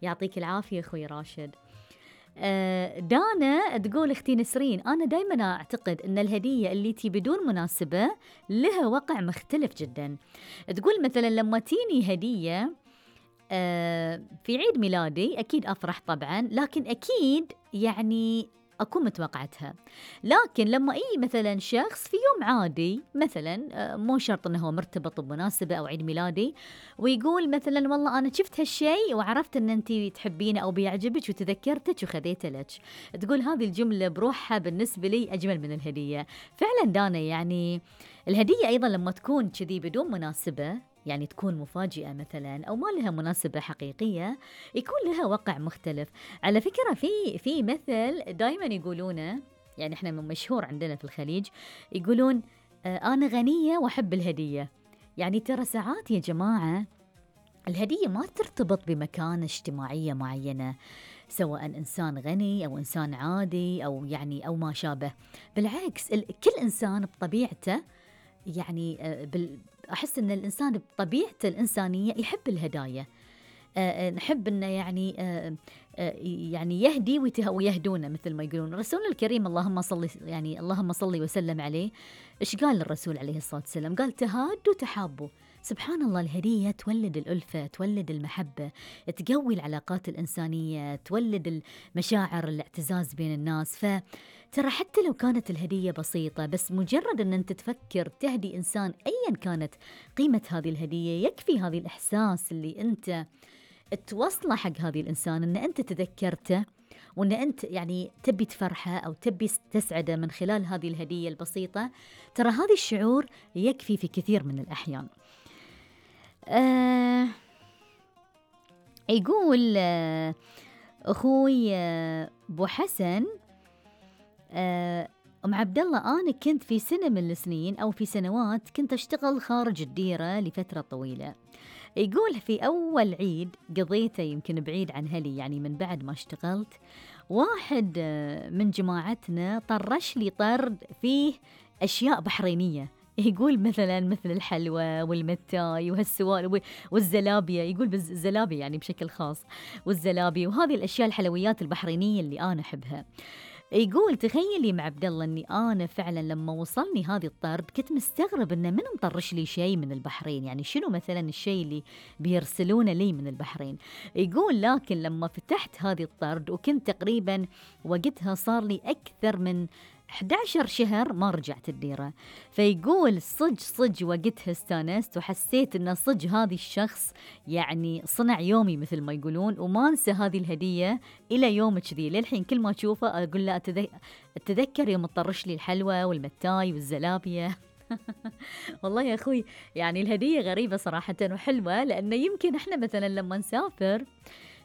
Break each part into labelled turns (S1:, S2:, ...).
S1: يعطيك العافية أخوي راشد. دانا تقول اختي نسرين أنا دايما أعتقد أن الهدية اللي تي بدون مناسبة لها وقع مختلف جدا. تقول مثلا لما تيني هدية في عيد ميلادي أكيد أفرح طبعا، لكن أكيد يعني أكون متوقعتها. لكن لما مثلا شخص في يوم عادي مثلا مو شرط أنه هو مرتبط بمناسبة أو عيد ميلادي، ويقول مثلا والله أنا شفت هالشيء وعرفت أن أنت تحبينه أو بيعجبك وتذكرتك وخذيته لك، تقول هذه الجملة بروحها بالنسبة لي أجمل من الهدية. فعلا دانا يعني الهدية أيضا لما تكون كذي بدون مناسبة، يعني تكون مفاجئة مثلا أو ما لها مناسبة حقيقية، يكون لها وقع مختلف. على فكرة في مثل دايما يقولونه، يعني احنا من مشهور عندنا في الخليج يقولون أنا غنية وأحب الهدية. يعني ترى ساعات يا جماعة الهدية ما ترتبط بمكانة اجتماعية معينة، سواء إنسان غني أو إنسان عادي أو يعني أو ما شابه. بالعكس كل إنسان بطبيعته يعني أحس أن الإنسان بطبيعته الإنسانية يحب الهدايا. نحب أنه يعني يهدي ويهدونا مثل ما يقولون. الرسول الكريم اللهم صل وسلم عليه، إيش قال الرسول عليه الصلاة والسلام؟ قال تهادوا تحابوا. سبحان الله، الهدية تولد الألفة، تولد المحبة، تقوي العلاقات الإنسانية، تولد المشاعر الاعتزاز بين الناس. فترى حتى لو كانت الهدية بسيطة، بس مجرد أن أنت تفكر تهدي إنسان أيا كانت قيمة هذه الهدية، يكفي هذه الإحساس اللي أنت توصله حق هذه الإنسان أن أنت تذكرته، وأن أنت يعني تبي تفرحه أو تبي تسعده من خلال هذه الهدية البسيطة. ترى هذا الشعور يكفي في كثير من الأحيان. يقول أخوي أبو حسن، أم عبد الله أنا كنت في سنة من السنين أو في سنوات كنت أشتغل خارج الديرة لفترة طويلة. يقول في أول عيد قضيته يمكن بعيد عن هلي، يعني من بعد ما اشتغلت، واحد من جماعتنا طرش لي طرد فيه أشياء بحرينية. يقول مثلا مثل الحلوى والمتاي وهالسوالف والزلابية، يقول بالزلابية يعني بشكل خاص، والزلابية وهذه الأشياء الحلويات البحرينية اللي أنا أحبها. يقول تخيلي مع عبد الله اني انا فعلا لما وصلني هذه الطرد كنت مستغرب انه من مطرش لي شيء من البحرين، يعني شنو مثلا الشيء اللي بيرسلونه لي من البحرين. يقول لكن لما فتحت هذه الطرد وكنت تقريبا وقتها صار لي اكثر من 11 شهر ما رجعت الديرة، فيقول صج وقتها استانست وحسيت ان صج هذه الشخص يعني صنع يومي مثل ما يقولون، وما انسى هذه الهدية الى يوم كذي. للحين كل ما اشوفه اقول له اتذكر يوم تطرش لي الحلوى والمتاي والزلابية. والله يا اخوي يعني الهدية غريبة صراحة وحلوة، لانه يمكن احنا مثلا لما نسافر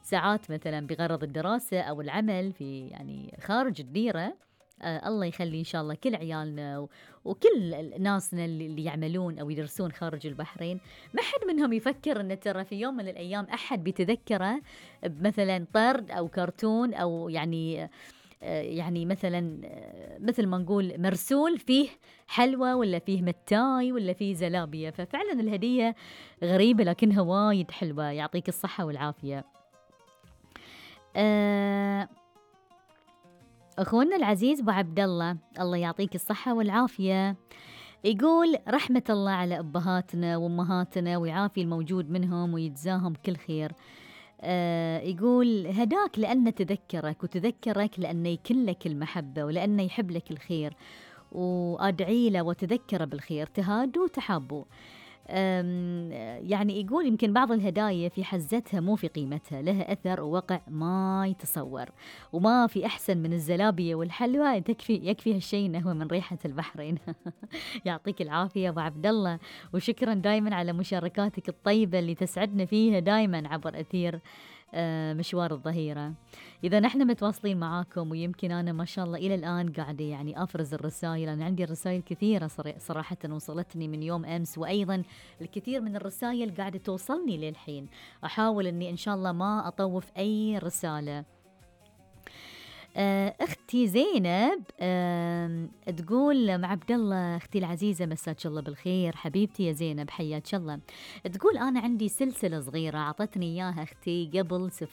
S1: ساعات مثلا بغرض الدراسة او العمل في يعني خارج الديرة، الله يخلي إن شاء الله كل عيالنا وكل ناسنا اللي يعملون أو يدرسون خارج البحرين، ما حد منهم يفكر أن ترى في يوم من الأيام أحد بيتذكره بمثلا طرد أو كرتون أو يعني مثلا مثل ما نقول مرسول فيه حلوى ولا فيه متاي ولا فيه زلابية. ففعلا الهدية غريبة لكنها وايد حلوة. يعطيك الصحة والعافية. أخونا العزيز أبو عبد الله، الله يعطيك الصحة والعافية، يقول رحمة الله على أبهاتنا وأمهاتنا ويعافي الموجود منهم ويجزاهم كل خير. يقول هداك لأنه تذكرك وتذكرك لأنه يكن لك المحبة ولأنه يحب لك الخير، وأدعي له وتذكر بالخير، تهادوا تحابوا. يعني يقول يمكن بعض الهدايا في حزتها مو في قيمتها، لها أثر ووقع ما يتصور، وما في أحسن من الزلابية والحلوى، يكفي هالشيء إنه هو من ريحة البحرين. يعطيك العافية أبو عبد الله، وشكرا دايما على مشاركاتك الطيبة اللي تسعدنا فيها دايما عبر أثير مشوار الظهيرة. إذا نحن متواصلين معاكم، ويمكن أنا ما شاء الله إلى الآن قاعدة يعني أفرز الرسائل، أنا عندي رسائل كثيرة صراحة وصلتني من يوم أمس، وأيضا الكثير من الرسائل قاعدة توصلني للحين. أحاول أني إن شاء الله ما أطوف أي رسالة. أختي زينب تقول مع عبد الله أختي العزيزة مساك الله بالخير حبيبتي يا زينب حياك الله. تقول أنا عندي سلسلة صغيرة أعطتني إياها أختي قبل